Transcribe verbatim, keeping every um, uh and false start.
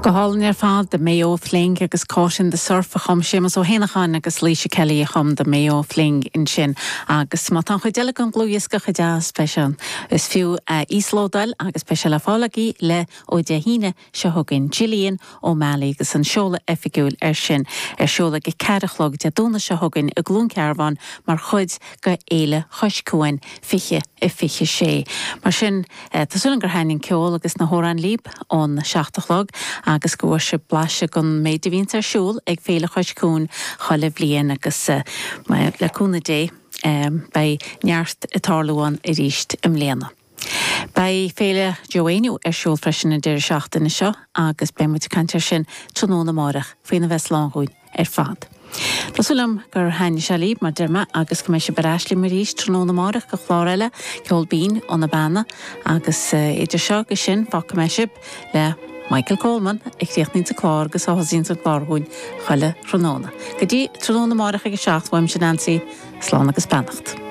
Go hálainn ar fad The Mayo Fling agus Caught in the Surf a chum Séamus Ó hÉanacháin agus Laoise Kelly a chum The Mayo Fling ansin agus má tá chuid eile an dlúthdhiosca chomh deas sin is fiú íoslódáil agus beidh sé le fáil agaibh le ó Dé hAoine seo chugainn Gillian O'Malley agus an seoladh oifigiúil ar sin ar siúl ag a ceathair a chlog Dé Domhnaigh seo chugainn i gCluain Cearbán mar chuid de Fhéile Chois Cuain fiche i fiche sé. Mar sin tá súil gur thaitin an ceol agus na hamhráin libh ón seacht a chlog agus go bhfuair sibh blaiseadh den méid a bhíonn ar siúl ag Féile Chois Cuain chuile bhliain agus le cúnamh Dé beidh neart ag tarlú ann arís i mbliana. Beidh Féile Joe Éinniú ar siúl freisin an deireadh seachtaine seo agus beidh muid ag caint air sin tráthnóna amárach faoina bheith slán dhúinn ar fad. Tá súil agam gur thaitin sé libh mar deir mé agus go mbeidh sibh ar ais liom arís tráthnóna amárach go chlár eile ceol binn ó na Beanna agus idir seo agus sin fágfaidh mé sibh le Michael Coleman a chríochnaíonn an clár agus a thosaíonn an clár dhúinn chuile thráthnóna. Go dtí tráthnóna amárach ag a seacht uaimse Nancy, slán agus beannacht.